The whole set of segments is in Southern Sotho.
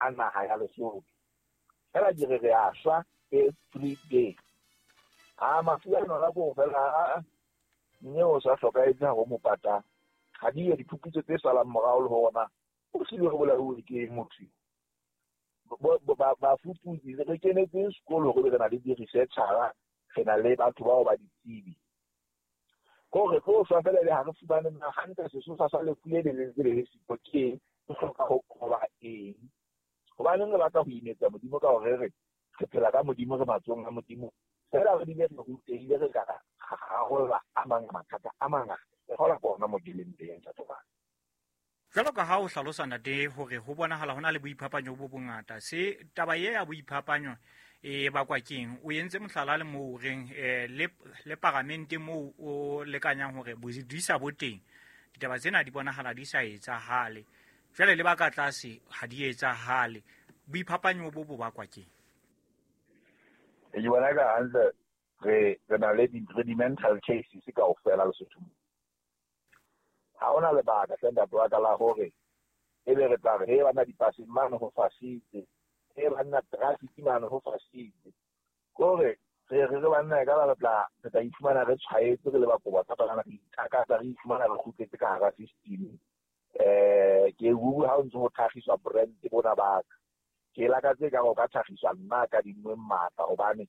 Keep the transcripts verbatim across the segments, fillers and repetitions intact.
a naha ya Lesotho. Fela ke re re a shwa every day. A mafu a nona ko fela mme o sa hlokahetse ha ho mo pata. Ha di diphuputso tse salang morao le hona o hlile ho bolauwe ke motho. Bafuputsi re kenetse sekolo hore re na le di-researcher, re na le batho bao ba ditsebi. Ko re tlo shwa fela le ha re fumane na hantle sesosa sa lefu le le ntse le le siko ke re hloka ho qoba eng. Hobaneng re batla ho imetsa Modimo ka hore re re phela ka Modimo, re matsohong a Modimo. Fela re bile re rutehile, re ka rarolla a mang mathata a mangata. Re kgola ke hona mo ke leng teng, ntate wa ka. Jwalo ka ha o hlalosa ntate hore ho bonahala hona le boiphapanyo bo bongata, se taba ye ya boiphapanyo e bakwa keng? O entse mohlala le moo o reng le le paramente moo o lekanyang hore bodisa bo teng, ditaba tsena di bonahala di sa etsahale. Jwale le ba ka tlase ha di etsahale. Boiphapanyo bo bo bakwa keng? Ke bona ka hantle re re na le di mental cases kaofela Lesotho. Ha hona lebaka hle ntate wa ka la hore ebe re tla re he bana dipaseng mane ho fasitse, he banna traffic mane ho fasitse. Kore re re re banna e ka ba re tla re tla iphumana re tshwaetse re le bakoba tsa bana re itakatsa re iphumana re kgutletse ka hara system. Eh ke bua ha o ntse ho tlhagiswa brand bona ba ka. Ke lakatse ka go ka tlhagiswa nna ka dingwe matla hobane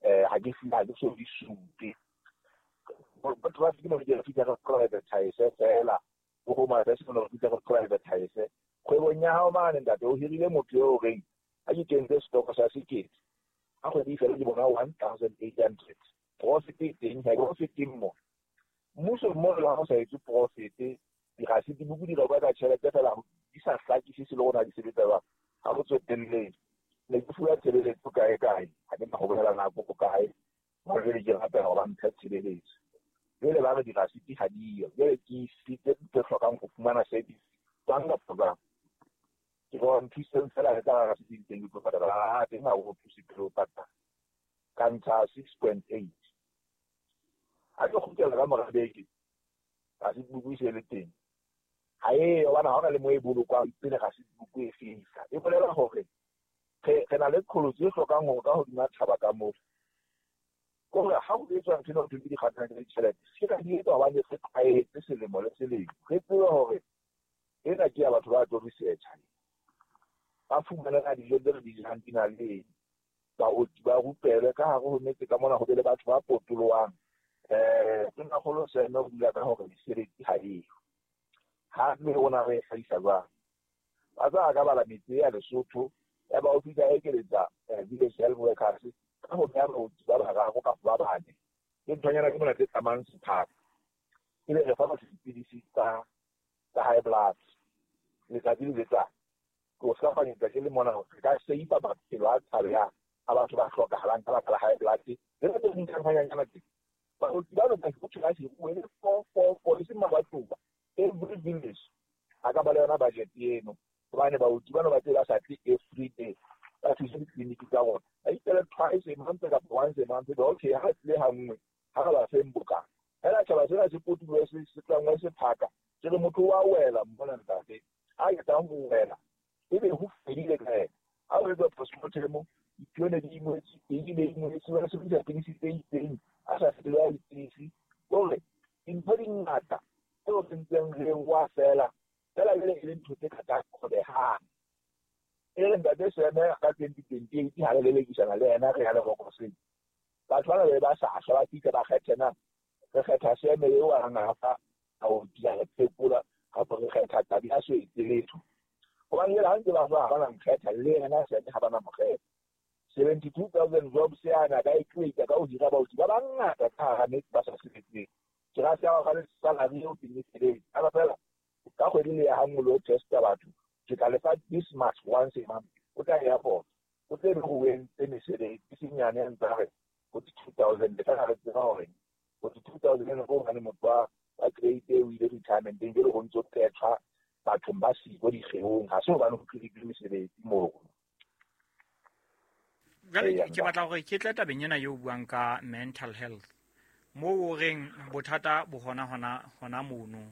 eh ha ke ha ke so di supe. Traffic mo ke fihla re privatize fela, o ho ma se no fihla re privatize. Kgwebong ya hao mane ntate o hirile motho eo reng ha ke kentse stock sa sekete ha kgwedi fela ke bona one thousand eight hundred profit e teng, ha profit mo mmuso mo le ha o sa etse profit, dirasiti buku di rekwa ka tjhelete fela di sa hlakise se le rona di sebetsa jwang. Ha ho tsotelle ne ke fuwa tshebeletso kae kae, ha ke na ho bolela nako ko kae mo jwale ke rapela hore ba mphe tshebeletso. Jwale ba re dirasiti ha diyo, jwale ke isitse tse hlokang ho fumana service jwang kapa jwang. Ke re nthuseng fela re tla rasiti teng ke tlo patala, ha teng ha o thuse pele o patala. Ka ntsha six point eight. Ha ke kgutlela ka mora beke, rasiti buku e se le teng. Ha e hobane ha hona le mo e bolokwang pele rasiti buku e fihla. E bolela hore re re na le qholotso e hlokang hore ka hodima thaba ka moo. Kore ha ho etswa ntho ena ho thwe ke dikgathatso tsa ditjhelete, se ka di etswa hobane re tlwaetse selemo le selemo. Re tsebe hore ena ke ya batho ba tlo research-a. Ba fumane na dijo tse re di jang di na le eng. Baoki ba rupelwe ka hare ho metse ka mona ho be le batho ba potolohang. Eh Tonakgolo Seme o bua ka hore mesebetsi ha eyo. Ha mme rona re e hlahisa jwang? Ba tsa ka bala metse ya Lesotho ya ba o fihla ekeletsa village health workers ka ho beha baoki ba bararo kapa ba bane. Ke nthonyana ke mona tse tsamayang sephaka. Ebe re fa batho dipidisi tsa tsa high blood letsatsi le letsatsi. Ke o hlapanyetsa ke le mona hore re ka save-a maphelo a tshabehang a batho ba hlokahalang ka baka la high blood. Le tse ding tsa nthonyana tse. Baoki ba lona ho thwe ba hiruwe le four four four e seng mabatowa. Every village a ka ba le yona budget eno hobane baoki bano ba tse ba sa tle every day ba thuse ditleliniki tsa rona. Ba ikele twice a month kapa once a month. Okay, ha re tlile ha nngwe ha re ba feng bokana. Fela tjhaba sena se potolohe se se tlangwe sephaka. Se re motho wa wela mona ntate. Ha qeta ho wela ebe ho fedile ka yena. Ha o etsa postmortem dipone di ingwetse, eng le eng se ba sebedisa pidisi tse itseng a sa fetola dipidisi. Kore dintho di ngata tseo re ntseng re wa fela fela jwale e le ntho tse ka qobehang. E re ntate Seme ka twenty twenty eight ha re lelekisana le yena re ya lerokoseng. Batho bana ba ba sa shwa ba fihla ba kgethe na re kgetha Seme eo a reng a fa a o dia re phekola kapa re kgetha Tabi a so etse letho. Hobane jwale ha ntse ba shwa ha ba na mokgetha le yena Seme ha ba na mokgetha. seventy two thousand jobs yana ka e create ka ho hira baoki ba bangata ka hara metse ba sa sebetseng. Ke ra se ba le salary eo teng e feletse. Ha ba fela ka kgwedi le ya ha nngwe le ho testa batho. Ke tla lefa this much once a month. O tla airport. O tle be ho entse mesebetsi e seng yane ya ntse a re forty two thousand. Le tla re tseba hore forty two thousand eno ke hobane motho wa wa grade A o ile retirement-eng jwale ho ntso qethwa bathong ba siko dikgeong. Ha se hobane ho create mesebetsi moo. Jwale ke batla hore ke tle tabeng ena eo buang ka mental health. Moo o reng bothata bo hona hona hona mono.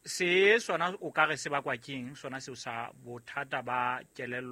Se sona o ka re se bakwa keng sona seo sa bothata ba kelello?